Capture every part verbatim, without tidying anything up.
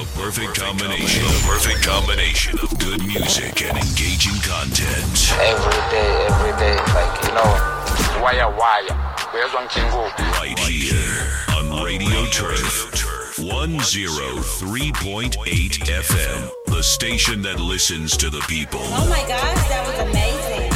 The perfect combination. The perfect combination of good music and engaging content. Every day, every day, like, you know, wire wire uyezwa ngijingo. Right here on Radio Turf one oh three point eight F M, the station that listens to the people. Oh my gosh, that was amazing.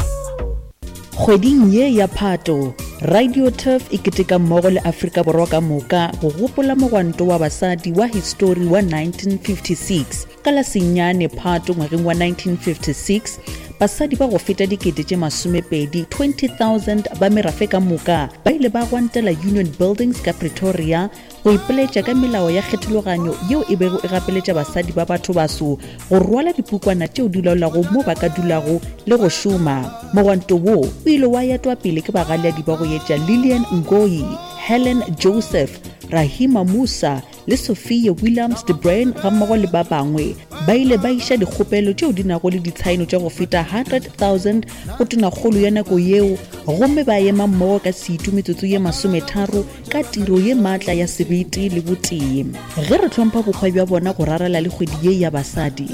Kgweding ye ya Phato, Radio Turf e keteka mmogo le Afrika Borwa ka moka go gopola mogwanto wa basadi wa histori wa nineteen fifty-six. Ka la senyane Phato ngwageng wa nineteen fifty-six, basadi ba go feta dikete tše masomepedi twenty thousand ba merafe ka moka ba ile ba gwantela Union Buildings ka Pretoria go ipoletša ka melao ya kgethologanyo yeo e bego e gapeletša basadi ba batho baso go rwala dipukwana tšeo di laolago mo ba ka dulago le go šoma. Mogwanto wo o ile wa etwa pele ke bagaleadi ba go etša Lilian Ngoyi, Helen Joseph, Rahima Moosa le Sophia Williams de Bruyn gammogo le ba bangwe. Ba ile ba iša dikgopelo tšeo di nago le ditshaeno tša go feta one hundred thousand go tonakgolo ya nako yeo, gomme ba ema mmogo ka setu metsotso ye masometharo ka tiro ye maatla ya sebete le botee. Ge re hlompha bokgwa bja bona go rarela le kgwedi ye ya basadi,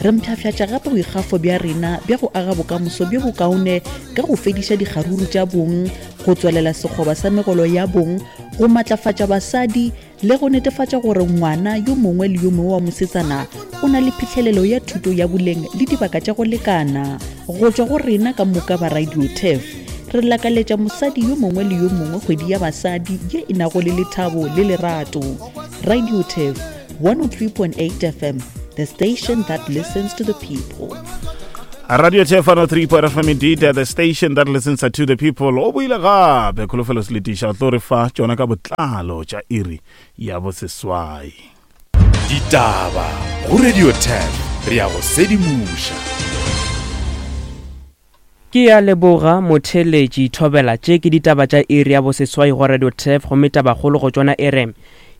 re mpshafšatša gape boikgafo bja rena bja go aga bokamoso bjo bokaone ka go fediša dikgaruru tša bong, go tswalela sekgoba sa megolo ya bong, go matlafatša basadi le go netefatša gore ngwana yo mongwe le yo mongwe wa mosetsana o na le phihlelelo ya thuto ya boleng le dibaka tša go lekana. Go tšwa go rena ka moka ba Radio Turf, re lakaletša mosadi yo mongwe le yo mongwe kgwedi ya basadi ye e nago le lethabo le lerato. Radio Turf one oh three point eight F M, the station that listens to the people. Radio Turf one oh three point F M, indeed, the station that listens to the people. O boile gape Kholofelo Seletiša o tlo re fa tšona ka botlalo tša iri ya boseswai. Ditaba go Radio ten, re ya go sedimoša. Ke ya leboga, motheletši. Thobela, tše ke ditaba tša iri ya boseswai go Radio Turf, gomme tabakgolo go tšona e re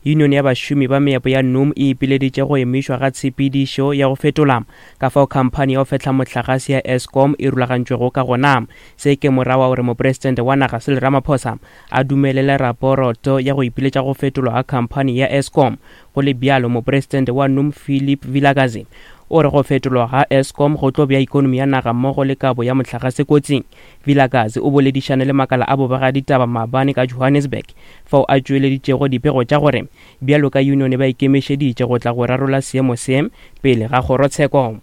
union ya bašomi ba meepo ya NUM e ipileditše go emišwa ga tshepedišo ya go fetola ka fao khamphani ya go fehla mohlagase ya Eskom e rulagantšwego ka gona. Se ke morago wa gore mopresidente wa naga Cyril Ramaphosa a dumelele raporoto ya go ipiletša go fetolwa ga khamphani ya Eskom. Go le bjalo, mopresidente wa NUM Philip Vilakazi o re go fetolwa ga Eskom go tlo bea ikonomi ya naga mmogo le kabo ya mohlagase kotsing. Vilakazi o boledišane le makala a bobegaditaba maabane ka Johannesburg, fao a tšweleditšego dipego tša gore bjalo ka union ba ikemišeditše go tla go rarola seemo se pele ga kgorotsheko.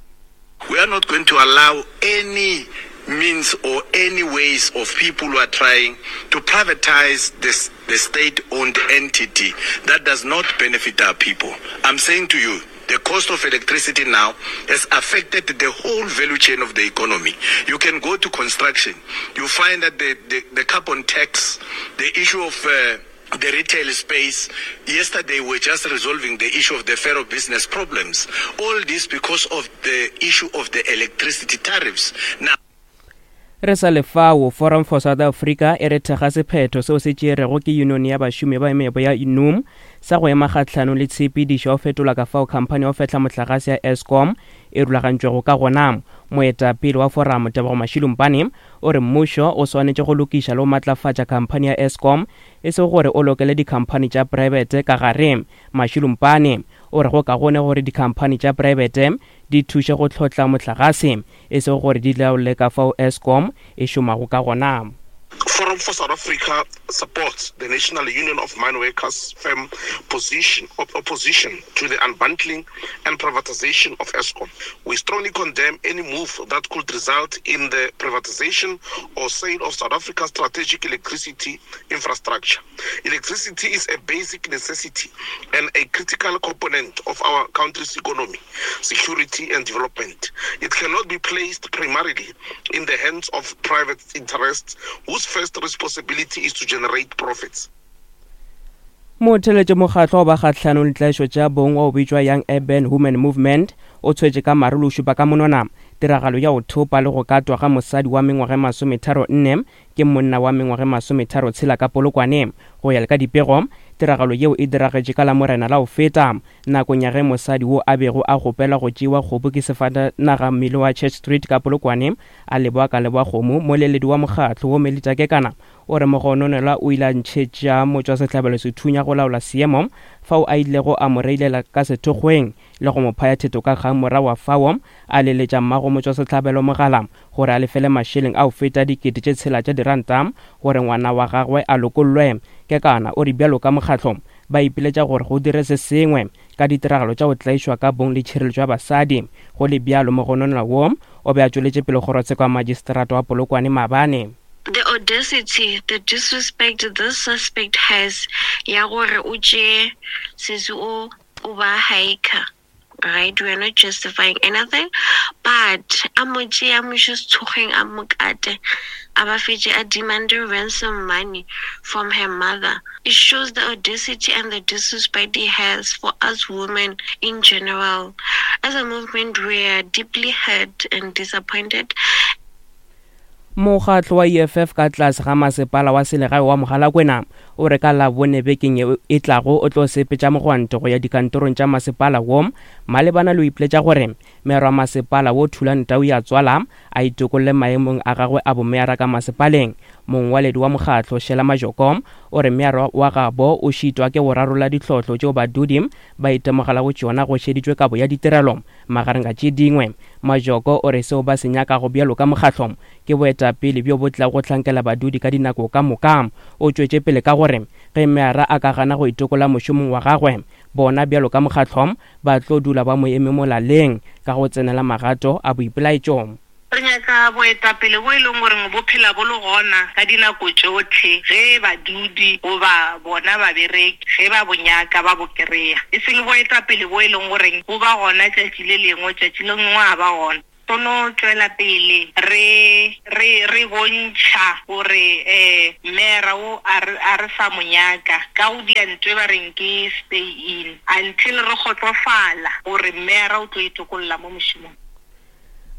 We are not going to allow any means or any ways of people who are trying to privatize this, the state-owned entity that does not benefit our people. I'm saying to you, the cost of electricity now has affected the whole value chain of the economy. You can go to construction, you find that the, the, the carbon tax, the issue of uh, the retail space. Yesterday, we were just resolving the issue of the ferro business problems. All this because of the issue of the electricity tariffs. Now, Re sa lefao, Forum for South Africa e re thekga sephetho seo se tšerego ke union ya bašomi ba meepo ya NUM sa go ema kgahlanong le tshepedišo ya go fetola ka fao khamphani ya go fehla mohlagase ya Eskom e rulagantšwego ka gona. Moetapele wa forum, Tebogo Mashilumpane, o re mmušo o swanetše go lokiša le go matlafatša khamphani ya Eskom, e sego gore o lokele dikhamphani tša praebete ka gare. Mashilumpane o re go kaone gore dikhamphani tša praebete di thuše go tlhotla mohlagase, e sego gore di laole ka fao Eskom e šomago ka gona. Forum for South Africa supports the National Union of Mine Workers' firm position of opposition to the unbundling and privatization of Eskom. We strongly condemn any move that could result in the privatization or sale of South Africa's strategic electricity infrastructure. Electricity is a basic necessity and a critical component of our country's economy, security, and development. It cannot be placed primarily in the hands of private interests whose first responsibility is to generate profits. Motheletše, mokgatlo wa bakgahlanong le tlaišo tša bong wa o bitšwa Young Urban Women Movement o tshwetše ka marolo šupa ka monwana tiragalo ya go thopa le go katwa ga mosadi wa mengwaga e masometharo nne ke monna wa mengwaga e masometharo tshela ka Polokwane. Go ya le ka dipego, Tiragalo yeo e diragetše ka Lamorena la go feta nakong ya ge mosadi wo a bego a kgopela go tšewa kgopu ke sefatanaga mmele wa Church Street ka Polokwane a leboa ka leboa kgomo. Moleledi wa mokgatlo wo Melita Kekana o re mogononelwa o ile a ntšhetša motšwasehlabelo sethunya go laola seemo fao a ilego a mo reilela ka sethokgweng le go mo phaya theto ka kgang. Morago wa fao a leletša mmago motšwasehlabelo mogala gore a lefele mašeleng a go feta dikete tše tshela tša diranta gore ngwana wa gagwe a lokollwe. Kekana o re bjalo ka mokgatlo ba ipiletša gore go dire se sengwe ka ditiragalo tša go tlaišwa ka bong le tšhireletšo ya basadi. Go le bjalo mogononelwa wo o be a tšweletše pele kgorotsheko ya magistrata wa Polokwane maabane. The audacity, the disrespect this suspect has ya gore o tšee sesi o o ba hiker, right? We are not justifying anything, but a mo tšee a mo iše sethokgweng a mo kate a ba fetše a demand ransom money from her mother. It shows the audacity and the disrespect he has for us women in general. As a movement, we are deeply hurt and disappointed. Mokgatlo wa E F F ka tlase ga masepala wa selegae wa Mogalakwena o re ka Labone bekeng ye e tlago o tlo sepetša mogwanto go ya dikantorong tša masepala wo malebana le ho ipiletša gore meero wa masepala wo Thulani Tau ya tswala a itokolle maemong a gagwe a bomeyara ka masepaleng. Mongwaledi wa mokgatlo Shela Majoko o re meero wa gabo o šitwa ke go rarolla ditlhohlo tšeo badudi ba itemogelago tšona go šeditšwe kabo ya ditirelo magareng ga tše dingwe. Majoko o re seo ba se nyakago bjalo ka mokgatlo ke boetapele bjo bo tlago go hlankela badudi ka dinako ka moka. O tšwetše pele ka gore ge meara a ka gana go itokola mošomong wa gagwe, bona bjalo ka mokgatlo ba tlo dula ba mo eme molaleng ka go tsenela magato a boipelaetšo. Re nyaka boetapele bo e leng gore bo phela bo le gona ka dinako tšohle ge badudi goba bona babereki ge ba bo nyaka ba bo kry-a, e seng boetapele bo e leng gore bo ba gona tšatši le lengwe tšatši le lengwe a ba gona. Tono tšwela pele re re re bontšha gore eh mera o a re a re sa mo nyaka ka go dia ntwe ba reng ke stay in until re kgotsofala gore mera o tlo itokolla mo mošomong.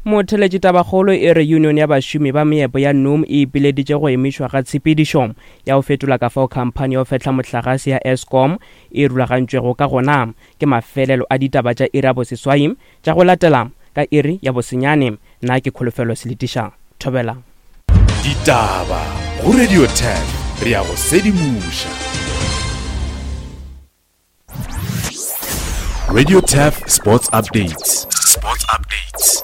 Motheletši tabakgolo e re union ya bašomi ba meepo ya N U M e ipileditše go emišwa ga tshepedišo ya go fetola ka fao khamphani ya go fehla mohlagase ya Eskom e rulagantšwego ka gona. Ke mafelelo a ditaba tša iri ya boseswai tša go latela ka iri ya bosenyane. Nna ke Kholofelo Seletiša. Thobela. Ditaba go Radio ten re ya go sedimoša. Radio Turf Sports Updates. Sports Updates.